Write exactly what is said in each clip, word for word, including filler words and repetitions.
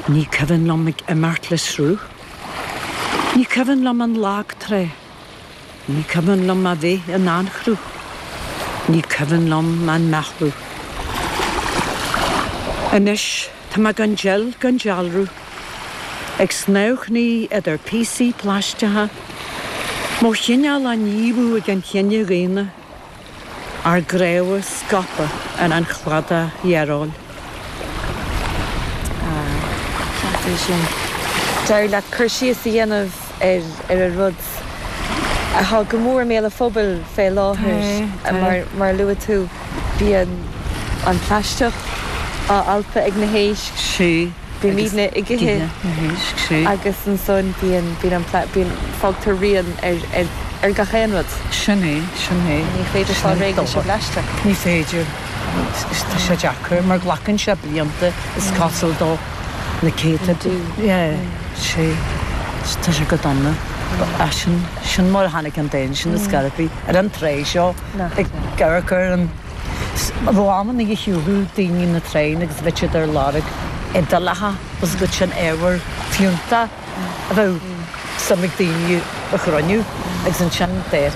Ní cuimhin liom ag imeacht le sruth. Ní cuimhin liom an lag trá. Ní cuimhin liom a bheith in anchruth. Ní cuimhin liom an meathlú. Anois tá mé gan deil gan dealramh, ag snámhchnaí idir píosaí plaisteacha, mo chineál á ndíobhadh ag an chine dhaonna, ár gcnámha scaipthe ar an chladach dhearóil. Ceart é sin. D'éirigh leat cur síos a dhéanamh ar ar an rud atá go mór i mbéal an phobail fé láthair mar mar luaigh tú bíonn an plaisteach á alpadh ag na héisc. Sea. Bímidne ag ithe na héisc, sea. Agus ansan bíonn bíonn an bíonn fágtar rian ar ar ar gach aon rud. Sin é, sin é. Ní féidir fáil réidh leis an bplaisteach. Ní féidir. Tá sé deacair mar glacann sé blianta is cosúil dó na céadta. Yeah, sea. Tá sé go dona. Sin sin mar a tháinig an dán sin is scairpí ar an trá seo ag amharc ar an Bhí amanna a shiúladh daoine na tráigh agus bheadh siad ar lorg idéalacha agus go sin ábhar fiúntach a bheadh suim ag daoine a chruinniú agus ansin deir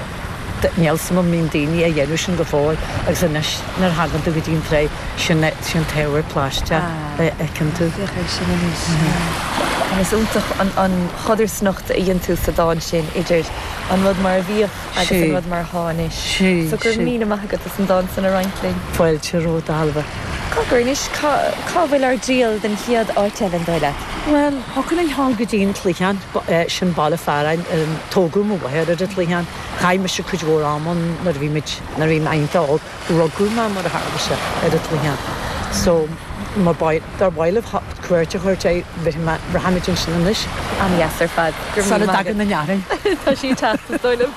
níl suim an mbíonn daoine a dhéanamh sin go fóill agus anois nuair a thagann tú go dtí an trá sin sin t-ábhar plaisteach a fheiceann tú. Féach air sin anois. Is iontach an an chodarsnacht a dhein tú sa dán sin idir an rud mar a bhíodh agus an rud mar atá anois. So go raibh míle maith agat as an dán san a roinnt linn. Fáilte romhat a Ailbhe. Cogar anois cá cá bhfuil ár dtriall den chéad áit eile an dóigh leat? Bhuel, thiocfadh linn dhul go dtí an Cloicheán, sin baile fearainn, tógadh mo mháthair ar an Chloicheán. Chaith mise cuid mhór ama ann nuair a bhí muid, nuair a bhí mé iontach óg. Rugadh mé mar a tharla sé ar an Chloicheán. So, má ba, dár mhaith libh cuairt a thabhairt air, rachaimid ansin anois. An-dheas ar fad. Go raibh Sula míle maith agat. dtagann an fhearthainn. Tá sí ag teacht, is dóigh liom.